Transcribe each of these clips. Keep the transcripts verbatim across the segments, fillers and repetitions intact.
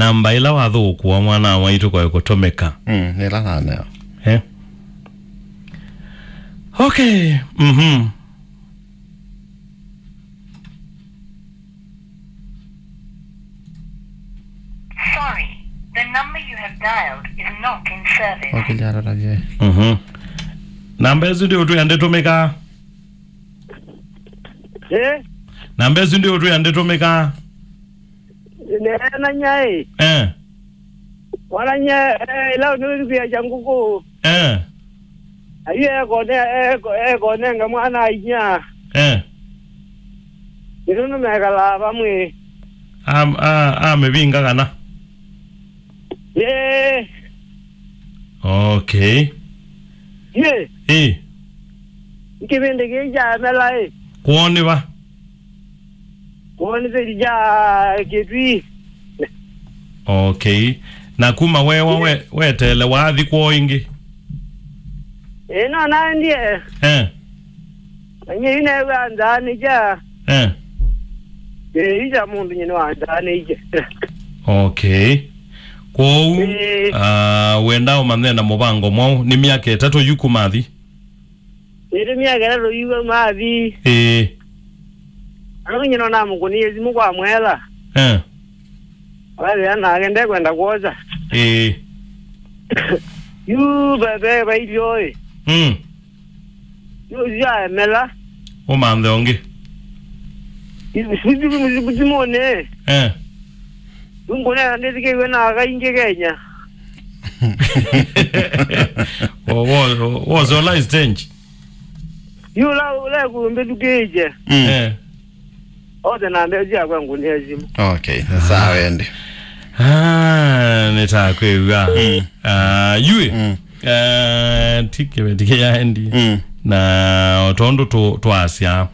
Namba ĩla wathũkũa mwana wa mwaitũ kwaĩ kũtũmĩka. Mm, nĩla naneo. Eh? Okay. Mhm. Sorry, the number you have dialed is not in service. Okay, jara tabia. Mhm. Namba ĩsu ndĩ ũtwĩa ndĩtũmĩka. Eh? Namba ĩsu ndĩ ũtwĩa ndĩtũmĩka. Nena nyai. Eh. Mwana nye, eh, ila nĩwĩthukia kya ngũkũ. Eh. Ayu ekone, eko-, ekonenga mwana ainya. Eh. Nĩtũnũ mekalaa vamwe. Am-, a-, amĩvinga kana? Eh. Okay. Ye. Eh. Kĩvĩndĩ kĩĩ kya mela ĩ. Kwoni va? Kwoni thĩli kya Kĩtui. Okay. Na kuma wewa we, wetele wathi kwoo ĩngĩ? Ĩ, no naendie. Eh. Manye yu newa nzaa nĩ kya. Eh. Ĩ, yu kya mũndũ nyine wa nzaa nĩ kya. Okay. Kwoou, eh, ah, wenda ũmanye na mũvango mwaũ, nĩ myaka ĩtatũ yu kuma athi? Ĩtĩ myaka ĩtatũ yu kuma athi. Ĩĩ. Anu nyina namũkũnie simũ kwa mwela. Eh. Wethĩa nake ndekwenda kwosa. Ĩĩ. Yu bebe bailyo ĩ. Mm. Yu syaemela. Ũmanthe ũngĩ. Simũnĩ. Eh. Nũngũnena ndĩthikĩiwe na aka ingĩ Kenya. Wo-, wo-, wosola stage. Yu la, la kumbĩthukĩĩkye. Mm. Eh. Othe na mbesa syakwa ngũnĩa simũ. Okay, sawa ende. Ah, nĩtakwĩw'a. Mm. Ah, yue. Mm. Eh, ti kĩveti kĩyaendi. Mm. Na o tondũ tũ-, twasya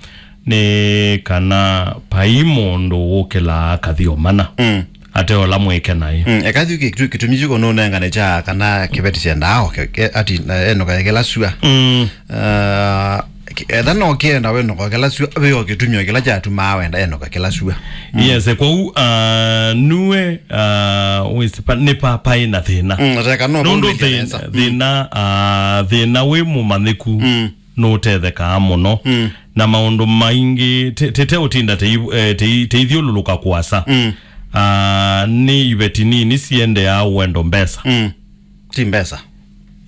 nĩ kana vai mũndũ wũkĩlaa kathi ũmana. Mm. Ate ola mwĩke naĩ. Mm, eka thiu kĩtu-, kĩtumi kyu kũnũnengane kya kana kĩveti syendaa oke, ke-, ati, na enoka kĩla sua. Mm. Ah, ki-, etha no kĩenda wenoka kĩla sua, ve o kĩtumi o kĩla kyatumaa wenda enoka kĩla sua. Mm. Yes, kwoou, ah, nue, ah, wĩsĩ pa-, nĩ pa-, paĩ na thĩna. Mm, ateka no nũndũ kũmĩthya thĩna, nesa. Mm. Thĩna, ah, thĩna wĩ mũmanyĩku. Mm. Nũtethekaa mũno. Mm. Na maũndũ maingĩ te-, te-, teũtinda tei-, eh, tei-, teithyũlũlũka kũasa. Mm. Ah, nĩ iveti nini siendeaa ũendo mbesa. Mm. Ti mbesa.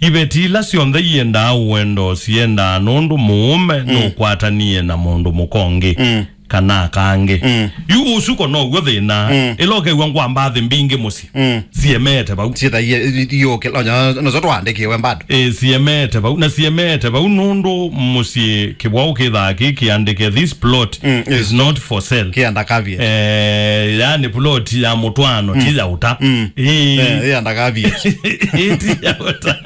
Iveti ila syonthe iendaa ũendo siendaa nũndũ mũũme, mm, nũkwatanie na mũndũ mũka ũngĩ. Mm. Kana kangĩ. Mm. Yu ũsuko now'o thĩna. Mm. Ĩla ũkew'a ngwa mbathi mbingĩ mũsyĩ. Mm. Siemete vau. Syĩthaie, i-, i-, iũkĩla, onya, noso twaandĩkĩwe bado. Ĩ, siemete vau. Na siemete vau nũndũ mũsyĩ kĩvwaũ kĩthaa kĩ kĩandĩke, "This plot, mm, is, is not for sale." Kĩanda caveat. Eh, yani plot ya mũtwaano, mm, ti ya ũta. Mm. Ĩ. Eh, ĩanda caveat. Ĩ, ti ya ũta.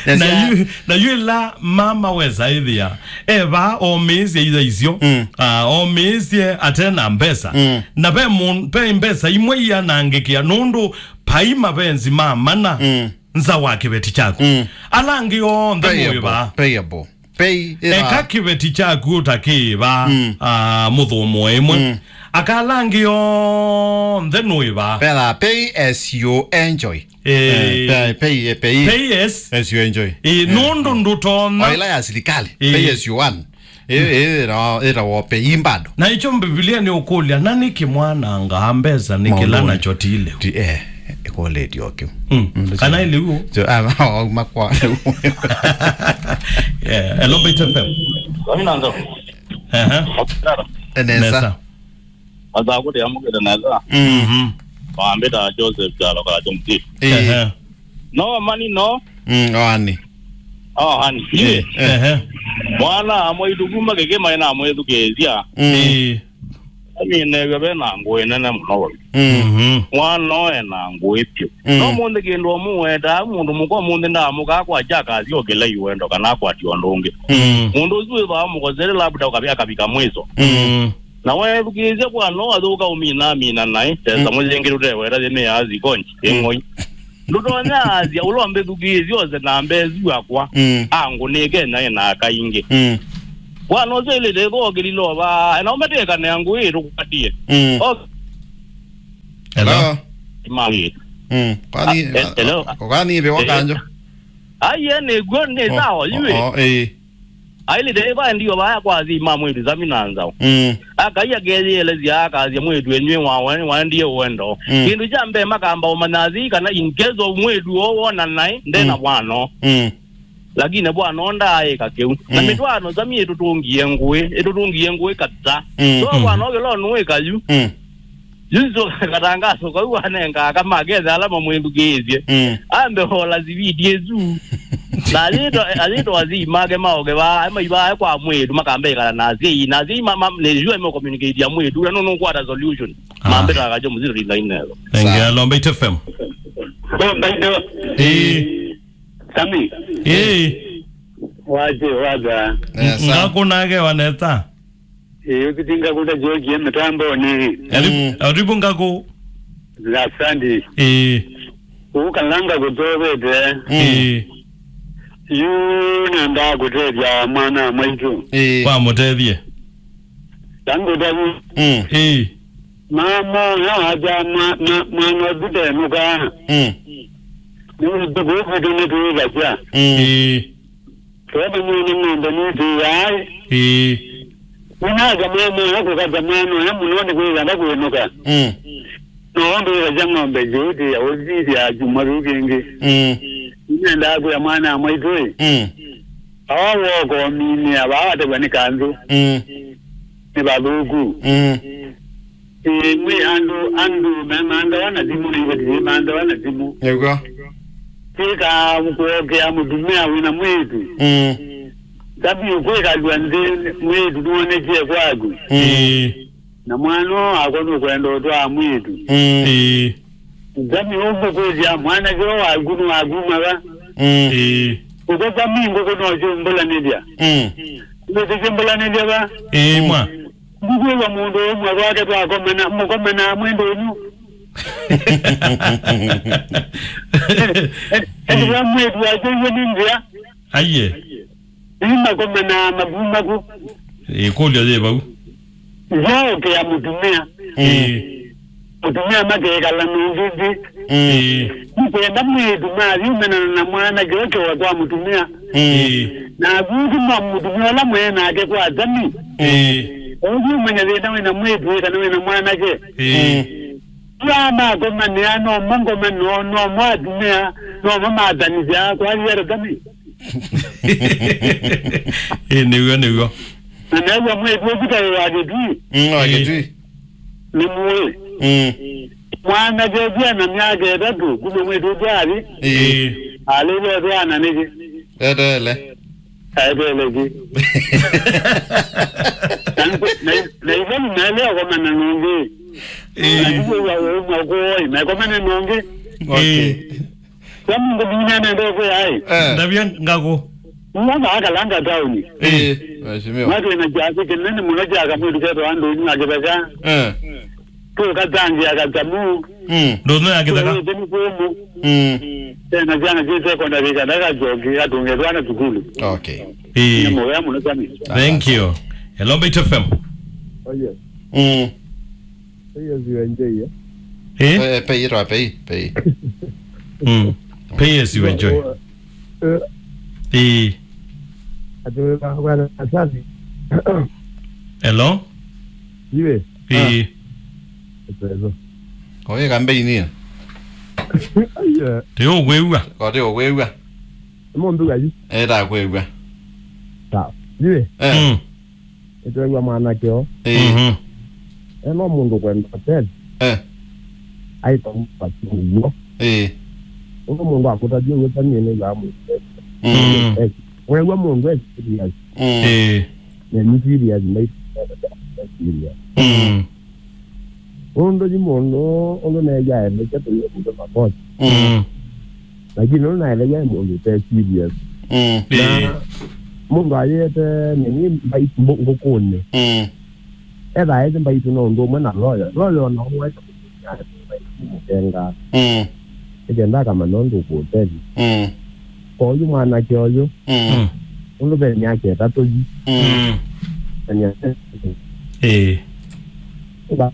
Na, na yu, na yu ĩla mama wesa ĩthĩa eva omĩĩsye itha isyo, mm, ah, omĩĩsye ate na mbesa. Mm. Na ve mũ-, ve mbesa imwe ianangĩkĩa nũndũ vai mavenzi ma mana, mm, nza wa kĩveti kyaku. Mm. Ala angĩ onthe payable, mũĩvaa. Payable. Pay ĩra. Eka kĩveti kyaku ũtakĩĩvaa, mm, ah, mũthũmũe ĩmwe. Mm. Aka ala angĩ onthe nũĩvaa. Pay as you enjoy. Eh, eh, pay, pay, pay. Pay as, as you enjoy. Eh, eh, nũndũ ndũtonya. O ĩla ya silikalĩ. Eh. Pay as you earn. Eh, eh, ĩra, ĩra wo pay bado. Na icho Mbivilia nĩ ũkũlya, na nĩkĩ mwanangaa mbesa nĩ kĩla maũndũnĩ nacho ti lĩu? Ti, eh, ĩkũlĩtyo kĩu. Mm. Mm, kana ĩlĩu? So, ah, wauma kwa lĩu. Yeah, hello, Bait F M. Wani nanzo. Ehe. Nesa. Nesa. Asa kuti amukite nesa. Mm. Mhm. Wambita Joseph Kyalo ka Jomti. Eh. Ehe. No mani no. Mm, oani. Oh, ani. Eh. Ehe. Mwana amwe itukuma kĩkĩma ina amwĩthukĩĩsya. Mm. Eh. Aminew'a ve na ngũĩ nene mũno wau. Mm. Mhm. Mwana oe na ngũĩ vyũ. Mm. No mũnthĩ kĩndũ mũwetaa mũndũ mũka mũnthĩ ndaamũkaa kwa kyakasya ũkĩla iwendo kana akwati ũndũ ũngĩ. Mm. Mũndũ ũsu wĩthwa amũkosere labda ũkavya akavika mwiso. Mm. Na weethukĩĩsya kwa no athũka ũmina amina naĩ, tesa, mm, mũyengĩ tũteweta yĩmĩaa zikonji, mm, ĩng'oi. Ndũtonya asya, ũla ũmbĩthukĩĩsya ose na mbee syakwa, mm, angũnĩke naĩ na aka ingĩ. Mm. Bwana ũsu ĩlĩte ĩthũa ũkĩlilova, na ũmbetekanĩa ngũĩ ĩtũkwatie. Mm. O- Hello? Hello? Mami. Mm. Kwani, ah, eh, hello? Kwani ibe wakanjo? Ai, ye nĩ guo, nĩ sawa, yue. Oh, eh. Ailĩte ĩva ndio vaya kwa asyai ma mwĩĩtu Sami na nzaũ. Mm. Akai akeyĩelesya akasya mwĩĩtu enywe wa, wa, waendie ũendo. Mm. Kĩndũ kya mbee makamba ũmanya asyai kana in case of mwĩĩtu ũũ wona naĩ, nde na mwana. Mm. Lakini bwana ũũ ndaaĩka kĩu. Na mĩtwaano Sami ĩtũtũngie ngũĩ, ĩtũtũngie ngũĩ kabisa. Mm. So bwana ũũ kĩla nũĩka yu. Mm. Yu nzũ katangaso kau anenga aka makethe ala mamwĩthukĩĩsye. Mm. Ambe ola siviti ĩsu. Na ayĩtwa, ayĩtwa asyai make maoke vaa, maivaa kwa mwĩĩtu, makamba ĩkala na asyai. Na asyai ma, ma, nĩsua me communicate ya mwĩĩtu, na nũnũkwata solution. Ah. Mambĩta akajo mũzito rinda inelo. Nengea Lomba F M. Lomba F M. Ĩĩ. Sami. Ĩĩ. Waje, waja. Eh, sa- Ngakũ nake waneta. Ĩĩ, ũsitinga kũta jokie mĩtambonĩ. Aribu, mm, aribu ngakũ. Asante. Ĩĩ. Ũkalanga kũtowete. Mm. Ĩĩ. Yu nenda kũtethya mwana maitũ. Ĩĩ. Wamũtethie. Tangu tabu. Mm. Ĩĩ. Mama, ya aja ma, ma, mwana ũthutenũka. Mm. Nĩ ũtukũ ũkwĩtũ nĩ twĩthasya. Mm. Ĩĩ. Tũũmanyie nĩ ng'ombe nĩtĩĩaĩ. Ĩĩ. Nĩnasya mwana ũyũ kũkata mwana ũyũ mũno nĩ kwĩthĩa ndakwĩnũka. Mm. No ũndũ wĩthasya ng'ombe yĩũtĩĩa ũthithya kyumwa kĩu kĩngĩ. Mm. Nĩnendaa kwĩa mwana mwaitũ-ĩ. Mm. Awa woko minĩa vaa watew'a nĩ kanzũ. Mm. Nĩ vathũku. Mm. Ĩĩ, mwĩ andũ, andũ me-, mandawa na thimũ, na ivatie mandawa na thimũ. Nĩw'o. Twĩka kũokea mũtumĩa wĩna mwĩĩtu. Mm. Tabi kwĩkalw'a nthĩ, mwĩĩtu nĩwonekie kwaku. Mm. Ĩĩ. Na mwana ũũ wakwa nũkwenda ũtwaa mwĩĩtu. Mm. Ĩĩ. Tabi ũkũkũlya mwanake ũũ waku nĩwakuma va? Mm. Ĩĩ. Ũko tabi ngũkũ no syũmbũlanĩlya. Mm. Nũtĩsyũmbũlanĩlya va? Ĩĩ, mwa. Ndikwĩw'a mũndũ ũmwe kwake twakomana, mũkomanaa mwĩ ndũnyũ. Ethĩwa mwĩĩtu wake iwe nĩ nzĩa. Aiye. Ii makomanaa makumaku. Ĩkũlyo yĩ vau. Yaũkĩa mũtumĩa. Ĩĩ. Mũtumĩa makekala nũngĩ nthĩ. Mm. Ĩĩ. Nĩkwenda mwĩĩtu mathi ũmenana na mwanake ũkewa kwa mũtumĩa. Mm. Ĩĩ. Na athũkũma mũtumĩa ũla mwee nake kwa Sami. Ĩĩ. Ũthi ũmanya thĩna wĩna mwĩĩtu kana wĩna mwanake. Ĩĩ. Mm. Ĩla makomanĩa, no mo ngoma, no, no mo atumĩa, no mo matanĩsya, kwalĩata Sami. Ĩĩ, nĩw'o, nĩw'o. Na new'a mwĩĩtu ũsu taĩ wa Kĩtui. Mm, wa Kĩtui. Nĩ mũĩ. Mm. Mwanake ũsu ena myaka ĩtatũ, kuma mwĩĩtu ũsu athi. Ĩĩ. Alĩle twana nĩkĩ? Eteele. Aeteele kĩ? Na, na, na ithoni naelea komana nũngĩ. Ĩĩ. Na nĩw'a ũmwe kũoi, na komana nũngĩ. Okay. Ĩĩ. Kwa mũndũ mwingĩ anaenda kwĩaĩ. Eh. Ndavya ngakũ. Mwana akalanga taoni. Eh, mheshimiwa. Watu ina kiasi kinene mũno kya kamwĩtu ketwa andũ nyuma kĩtheka. Eh. Tũkatangĩa katamu. Mm. Ndũnũ ya kĩtheka. Tũwĩte nĩ kũmũ. Mm. Tena syana syĩ secondary kana kajoki katũnge twana sukulu. Okay. Ĩĩ. Nĩ mũvea mũno Sami. Thank you. Hello, Mbaitu F M. Oh, yes. Mm. Pay as you enjoy, eh? Eh? Eh, pay it or pay, pay. Mm. Pay as you enjoy. Eh, eh. Ati, bwana, asante. Hello? Iwe? Eh. Ah. Ezo. Oye, kambe inia. Aye. Teo kwĩw'a. Ko teo kwĩw'a. Mo mbuga yu. Eh, ta kwĩw'a. Sawa. Iwe? Eh. Mm. Nĩtweew'a mwanake o. Ĩĩ. Mhm. E no mũndũ kwenda ũtethyo. Eh. Aĩta mũvaki ũw'o. Ĩĩ. Ũndũ mũndũ akũtavya ũw'o ta niĩ nĩw'aa mũndũ. Mm. Eh, weew'a mũndũ e serious. Mm. Ĩĩ. Na ni serious, na serious. Mm. Ũndũ yu mũndũ, ũndũ neew'aa endekya tũyĩ mũndũ makosa. Mm. Lakini ũndũ naelewa e mũndũ ũte serious. Mm. Na ĩĩ. Mũndũ ayĩte nini mbai-, mbu-, ngũkũnĩ. Mm. Ethaa ĩthi mbaitũ na ũndũ ũmwe na lawyer. Lawyer ona ũmwe mũkenga. Mm. Nĩkenda akamanya ũndũ ũkũũtethya. Mm. Kwa ũyu mwanake ũyũ, mm, ũndũ ve myaka ĩtatũ yu. Mm. Na myaka ĩtatũ. Ĩĩ. Ba-,